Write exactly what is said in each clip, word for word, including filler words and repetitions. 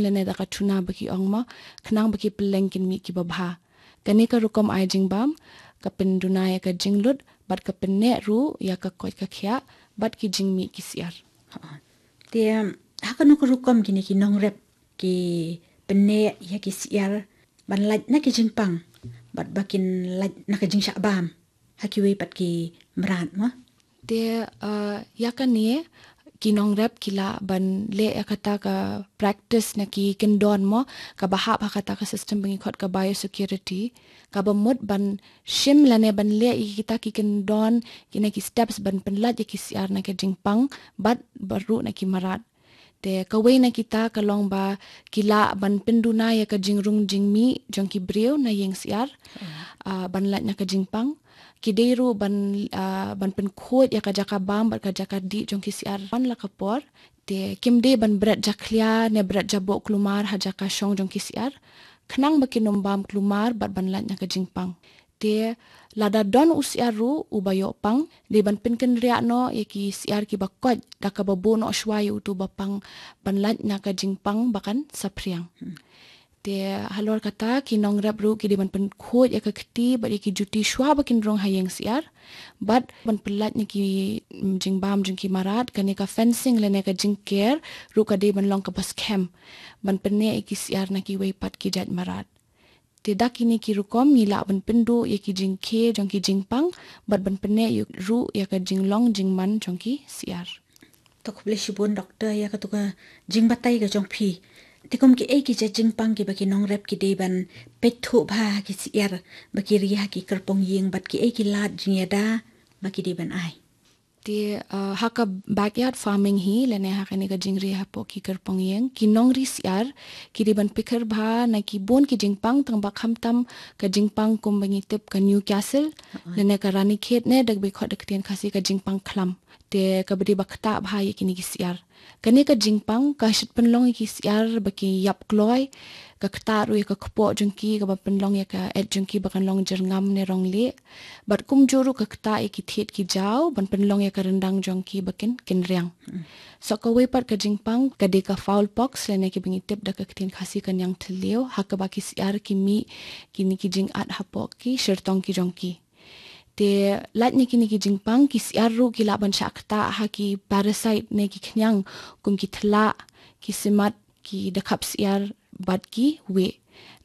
lane da ka tuna ba ki ong mo, khnang ba ki pylleng kin mih kiba bha. Kane ka rukom ai jingbam ka pynduna ïa ka jinglut bad ka pynneh ruh ïa ka koit ka khiah bad ki jingmih ki syiar. Te ha kano ka rukom kine ki nongrep ki pynneh ïa ki syiar ban lait na ki jingpang bad ba kin lait na ka jingshah bam ha kiwei pat ki mrad mo? Te uh, ïa kane ki nongrep ki lah ban leh ïa kata ka practice na ki kyndon mo, kaba hap ha kata ka system ba ngi khot ka biosecurity, kaba mut ban shim lane ban leh ïa kita ki kyndon, kine ki steps ban pynlait ïa ki syiar na ka jingpang bad baroh na ki mrad. Te kawei na kita ka long ba ki lah ban pynduna ïa ka jingrung jingmih jong ki briew na ïing syiar, ah, ban lait na ka jingpang. Ki dei ruh ban, ah, ban pynkhuid ïa ka jaka bam bad ka jaka dih jong ki syiar man la ka por. Te kim dei ban bret jakhlia ne bret jaboh klumar ha jaka shong jong ki syiar, khnang ba kin ym bam klumar bad ban lait na ka jingpang. Te lada don u syiar ruh uba ïoh pang, dei ban pynkynriah noh ïa ki syiar kiba koit da kaba buh noh shuwa ïa uto ba pang ban lait na ka jingpang ba kan saphriang. Te halor kata ki nongrep ruh ki dei ban pynkhuid ïa ka kti bad ïa ki juti shuwa ba kin rung ha ïing syiar bad ban pynlait na ki, mm, jingbam jong ki mrad, kane ka fencing lane ka jingker ruh ka dei ban long kaba skhem ban pynneh ïa ki syiar na kiwei pat ki jait mrad. Te da kine ki rukom ngi lah ban pynduh ïa ki jingkhie jong ki jingpang bad ban pynneh ruh ïa ka jinglong jingman jong ki syiar. To khublei shibun doktor ïa katu ka jingbatai ka jong phi. Te kum kiei ki jait jingpang kiba ki nongrep ki dei ban peit thuh bha ha ki syiar ba ki ri ha ki kyrpong ïing bad kiei ki lad jingïada ba ki dei ban ai? Te, uh, ha ka backyard farming hi lane ha kane ka jingri hapoh ki kyrpong ïing, ki nongri syiar ki dei ban pyrkhat bha na ki bun ki jingpang, tang ba khamtam ka jingpang kum ba ngi tip ka Newcastle lane ka Ranikhet ne da kaba khot da ka ktien Khasi ka jingpang khlam. Te kaba dei ba ktah bha ïa kine ki syiar. Kane ka jingpang ka shait pynlong ïa ki syiar ba ki ïap kloi, ka ktah ruh ïa ka kpoh jong ki, kaba pynlong ïa ka et jong ki ba kan long jyrngam ne rong lieh. Bad kumjuh ruh ka ktah ïa ki thied ki jaw ban pynlong ïa ka ryndang jong ki ba kin, kin riang. So kawei pat ka jingpang ka dei ka fowl pox lane kiba ngi tip da ka ktien Khasi ka niang thliew, ha kaba ki syiar ki mih kine ki jingat hapoh ki shyrtong ki jong ki. Te lait na kine ki jingpang ki syiar ruh ki lah ban shah ktah ha ki parasite ne ki khñiang kum ki thlak, ki simat, ki dakhap syiar bad ki wieh.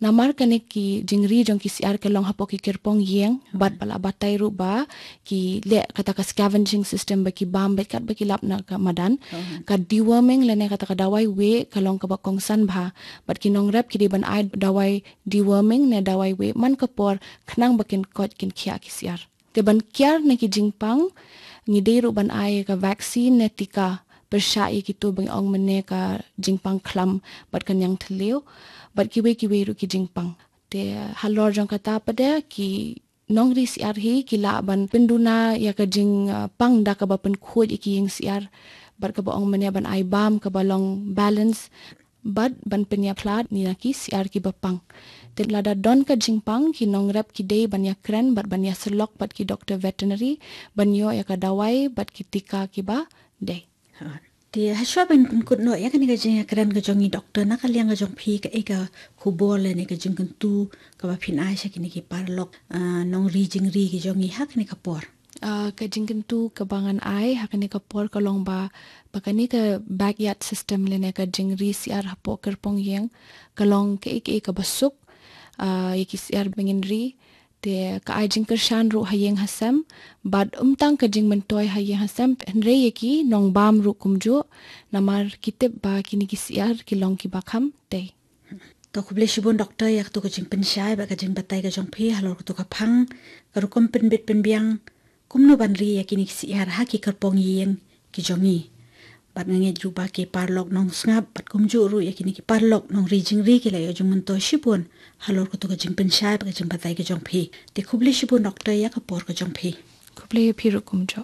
Namar kane ki jingri jong ki syiar ka long hapoh ki kyrpong ïing bad ba la batai ruh ba ki leh kata ka scavenging system ba ki bam bad katba ki lap na ka madan. Ka deworming lane kata ka dawai wieh ka long kaba kongsan bha bad ki nongrep ki dei ban ai dawai deworming ne dawai wieh man ka por khnang ba kin koit kin khiah ki syiar. Te ban kiar na ki jingpang ngi dei ruh ban ai ka vaccine ne tika pyrshah ïa kitu ba ngi ong mynne ka jingpang khlam bad ka niang thliew bad kiwei kiwei ruh ki jingpang. Te halor jong kata pat de ki nongri syiar hi ki lah ban pynduna ïa ka jingpang da kaba pynkhuid ïa ki ïing syiar bad kaba ong mynne ban ai bam kaba long balance bad ban pynïaphlad na ki syiar kiba pang. Te lada don ka jingpang ki nongrep ki dei ban ïakren bad ban ïasyllok bad ki doktor veterinary ban ïoh ïa ka dawai bad ki tika kiba dei. Te hashwa ban pynkut noh ïa kane ka jingïakren ka jong ngi doktor, na ka liang ka jong phi kaei ka khubor lane ka jingkyntu kaba phin ai sha kine ki paralok, ah, nongri jingri ki jong ngi ha kane ka por? Ah, ka jingkyntu kaba ngan ai ha kane ka por ka long ba, ba kane ka backyard system lane ka jingri syiar hapoh kyrpong ïing ka long kaei kaei kaba suk, ah, ïa ki syiar ba ngin ri. Te ka ai jingkyrshan ruh ha ïing ha sem bad ym tang ka jingmyntoi ha ïing ha sem hynrei ïa ki nongbam ruh kumjuh, namar ki tip ba kine ki syiar ki long kiba kham tei. To khublei shibun doktor ïa katu ka jingpynshai bad ka jingbatai ka jong phi halor katu ka phang, ka rukom pynbit pynbiang kumno ban ri ïa kine ki syiar ha ki kyrpong ïing ki jong ngi. Bad nga ngeit ruh ba ki paralok nongsngap bad kumjuh ruh ïa kine ki paralok nongri jingri ki la ïoh jingmyntoi shibun halor katu ka jingpynshai bad ka jingbatai ka jong phi. Te khublei shibun doktor ïa ka por ka jong phi. Khublei ïa phi ruh kumjuh.